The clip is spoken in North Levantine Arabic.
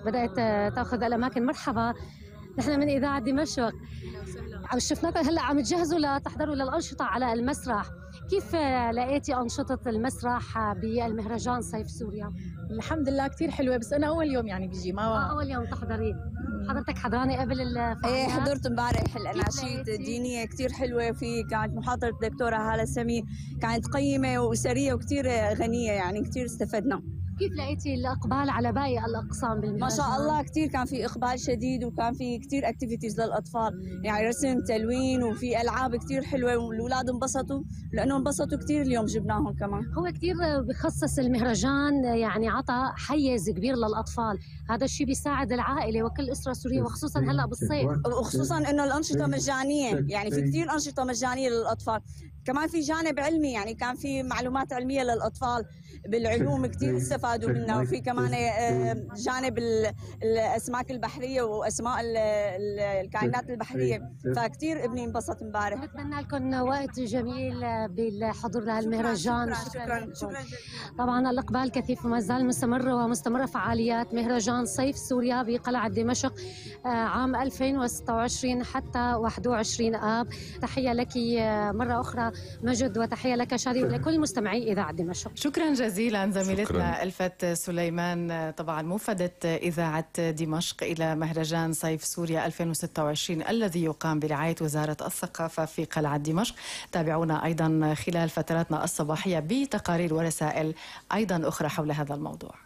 بدأت تأخذ الأماكن. مرحبا، نحن من إذاعة دمشق. شفناكم هلا عم تجهزوا لتحضروا للأنشطة على المسرح، كيف لقيتي أنشطة المسرح بالمهرجان صيف سوريا؟ الحمد لله كتير حلوة، بس أنا أول يوم يعني بيجي ما أول يوم تحضري. حضرتك حضراني قبل الفعاليات؟ ايه حضرت امبارح الاناشيد الدينيه كتير حلوه، في كانت محاضره الدكتوره هالة سمير، كانت قيمه واسريه وكتير غنيه، يعني كتير استفدنا. كيف لقيتي الإقبال على باقي الأقسام بالمهرجان؟ ما شاء الله كتير كان في إقبال شديد، وكان في كتير اكتيفيتيز للأطفال، يعني رسم، تلوين، وفي ألعاب كتير حلوة، والأولاد انبسطوا لأنه انبسطوا كتير اليوم جبناهم كمان. هو كتير بخصص المهرجان، يعني عطى حيز كبير للأطفال، هذا الشيء بيساعد العائلة وكل أسرة سورية، وخصوصا هلأ بالصيف، وخصوصا إنه الأنشطة مجانية، يعني في كتير أنشطة مجانية للأطفال. كمان في جانب علمي، يعني كان في معلومات علمية للأطفال بالعلوم كتير استفادوا منها، وفي كمان جانب الأسماك البحرية وأسماء الكائنات البحرية، فكتير ابني انبسط امبارح. بتمنى لكم وقت جميل بالحضور لهالمهرجان. شكرا. طبعا الإقبال كثيف وما زال مستمر، ومستمرة فعاليات مهرجان صيف سوريا بقلعة دمشق عام 2026 حتى 21 آب. تحية لك مرة أخرى مجد، وتحية لك شادي، ولكل مستمعي إذاعة دمشق. شكرا جزيلا زميلتنا ألفت سليمان. طبعا موفدت إذاعة دمشق إلى مهرجان صيف سوريا 2026 الذي يقام برعاية وزارة الثقافة في قلعة دمشق. تابعونا أيضا خلال فتراتنا الصباحية بتقارير ورسائل أيضا أخرى حول هذا الموضوع.